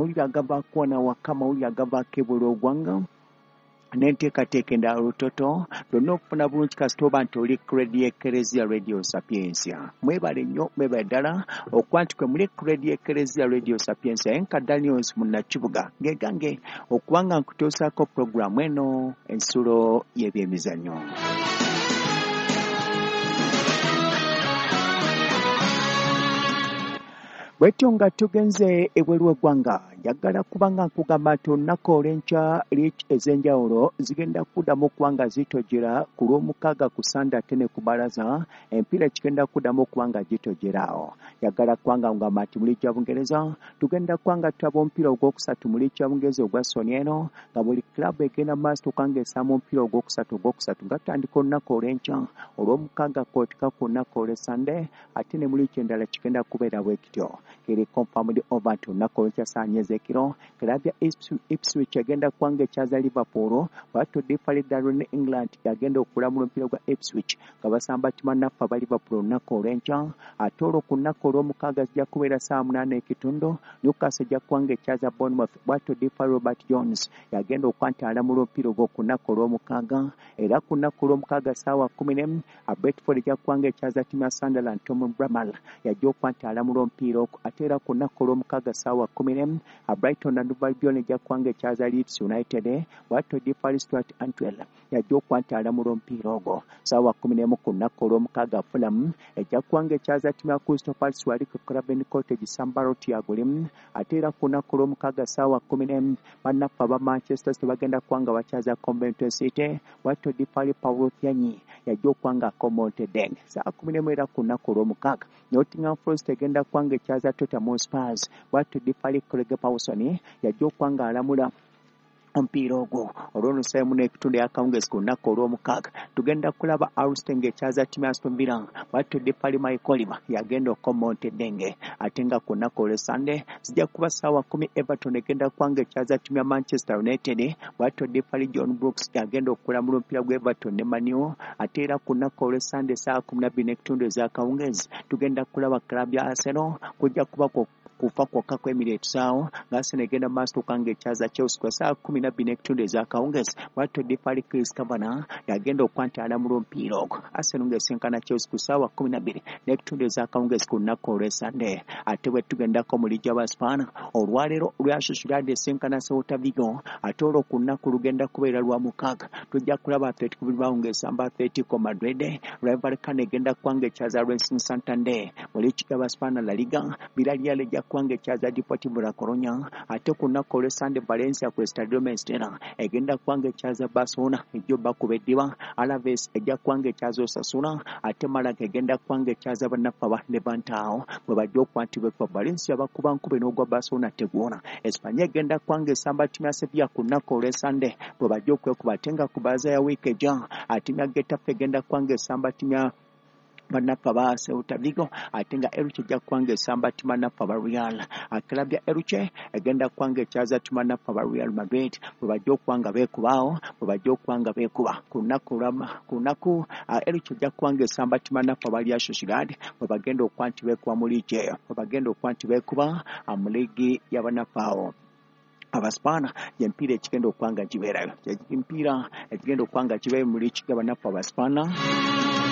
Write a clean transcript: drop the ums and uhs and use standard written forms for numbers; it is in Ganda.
Mawulire agavaako wano awaka, mawulire agavaako ebweru w'eggwanga n'enteekateeka endala lutoto byonna okufuna bulungi kasita oba nti oli ku Radio Ekereziya Radio Sapientia. Mwebale nnyo, mwebale ddala okuba nti kwe muli ku Radio Ekereziya Radio Sapientia. Enka Daniels Munnakibuga ngegange okuba nga nkutuusaako pulogulaamu eno ensulo y'ebyemizannyo. Bwetyo nga tugenze ebweru w'eggwanga, njagala kuba nga nkugamba nti olunaku olw'enkya liigi ez'enjawulo zigenda kuddamu okuba nga zitojjera ku Lwomukaaga ku Ssande ate ne ku Bbalaza emipiira gigenda kuddamu okuba nga gitojjera awo. Njagala kuba nga nkugamba nti mu liigi ya Bungereza tugenda kuba nga tulaba omupiira ogwokusatu mu liigi ya Bungereza ogwa Soni eno nga buli club egenda mu maaso okuba nga esamba omupiira ogwokusatu nga tutandika olunaku olw'enkya Olwomukaaga kwoteeka ku lunaku olw'Essande ate ne mu liigi endala kigenda kubeera bwe kityo. Kiri confirmed over nti olunaku olw'enkya ssaawa nnya ez'ekiro club ya Ipswich egenda kuba nga ekyaza Liverpool, bw'atyo ddiifali Darren England y'agenda okulamula omupiira gwa Ipswich nga basamba bannaffe aba Liverpool olunaku olw'enkya. Ate olwo ku lunaku Olwomukaaga zijja kubeera ssaawa munaana n'ekitundu, Newcastle ejja kuba nga ekyaza Bournemouth, bw'atyo ddiifali Robert Jones y'agenda okuba nti alamula omupiira ogwo ku lunaku Olwomukaaga. Era ku lunaku Olwomukaaga ssaawa kkumi n'emu, Brentford ejja kuba nga ekyaza ttiimu ya Sunderland, Tom Bramall y'ajja okuba nti alamula omupiira ogwo. Ate era ku lunaku Olwomukaaga ssaawa kkumi n'emu, Brighton and Hove Albion ejja kuba nga ekyaza Leeds United, bw'atyo ddiifali Stuart Antwell y'ajja okuba nti alamula omupiira ogwo. Ssaawa kkumi n'emu ku lunaku Olwomukaaga Fulham ejja kuba nga ekyaza ttiimu ya Crystal Palace wali ku Craven Cottage, Sam Barrott y'agulimu. Ate era ku lunaku Olwomukaaga ssaawa kkumi n'emu bannaffe aba Manchester City bagenda kuba nga bakyaza Coventry City, bw'atyo ddiifali Paulo Thyanyi y'ajja okuba nga akomontedde. Ssaawa kkumi n'emu era ku lunaku Olwomukaaga Nottingham Forest egenda kuba nga ekyaza Tottenham Hotspurs, bw'atyo ddiifali Craig Pawson y'ajja okuba nga alamula omupiira ogwo. Olwo nno ssaawa emu n'ekitundu ey'akawungeezi ku lunaku Olwomukaaga tugenda kulaba Arsenal ng'ekyaza ttiimu ya Aston Villa, bw'atyo ddiifali Mike Oliver y'agenda okukomonta eddenge. Ate nga ku lunaku olw'Essande zijja kuba ssaawa kkumi Everton egenda kuba ng'ekyaza ttiimu ya Manchester United, bw'atyo ddiifali John Brooks y'agenda okulamula omupiira gwa Everton ne Man U. Ate era ku lunaku olw'Essande ssaawa kkumi na bbiri n'ekitundu ez'akawungeezi tugenda kulaba club ya Arsenal kujja kuba kufa kwokka ku Emirates awo nga Arsenal egenda mu maaso okuba ng'ekyaza Chelsea ku ssaawa kkumi na bbiri n'ekitundu ez'akawungeezi. Bw'atyo ddiifali Chris Kavanagh y'agenda okuba nti alamula omupiira ogwo, Arsenal ng'esinkana Chelsea ku ssaawa kkumi na bbiri n'ekitundu ez'akawungeezi ku lunaku olw'Essande. Ate bwe tugendako mu liigi y'Abaspaana olwaleero Real Sociedad esinkana Celta Vigo, ate olwo ku lunaku lugenda kubeera lwa mukaaga tujja kulaba Atletico Bilbao ng'esamba Atletico Madrid, Rayo Vallecano egenda kuba ng'ekyaza Racing Santander. Mu liigi y'Abaspaana La Liga, Villarreal ejja kuba ng'ekyaza Deportivo La Coruña, ate ku lunaku olw'Essande Valencia ku Estadio Mestalla egenda kuba ng'ekyaza Barcelona ejja obbakuba eddiba, Alaves ejja kuba ng'ekyaza Osasuna, ate Malaga egenda kuba ng'ekyaza bannaffe aba Levante awo bwe bajja okuba nti bekuba Valencia bakuba nkube n'ogwa Barcelona teguwona. Espanya egenda kuba ng'esamba ttiimu ya Sevilla ku lunaku olw'Essande bwe bajja okwekuba, ate nga ku bbalaza ya wiiki ejja ttiimu ya Getafe egenda kuba ng'esamba ttiimu ya bannaffe aba Celta Vigo, ate nga Elche ejja kuba ng'esamba ttiimu bannaffe aba Real. Club ya Elche egenda kuba ng'ekyaza ttiimu bannaffe aba Real Madrid bwe bajja okuba nga beekuba awo bwe bajja okuba nga beekuba ku lunaku ku lunaku Elche ejja kuba ng'esamba ttiimu bannaffe aba Real Sociedad bwe bagenda okuba nti beekuba mu liigi eyo bwe bagenda okuba nti beekuba mu liigi y'abannaffe awo Abaspaana. Gy'emipiira ekigenda okuba nga gibeerayo, gy'emipiira ekigenda okuba nga gibeerayo mu liigi y'abannaffe Abaspaana.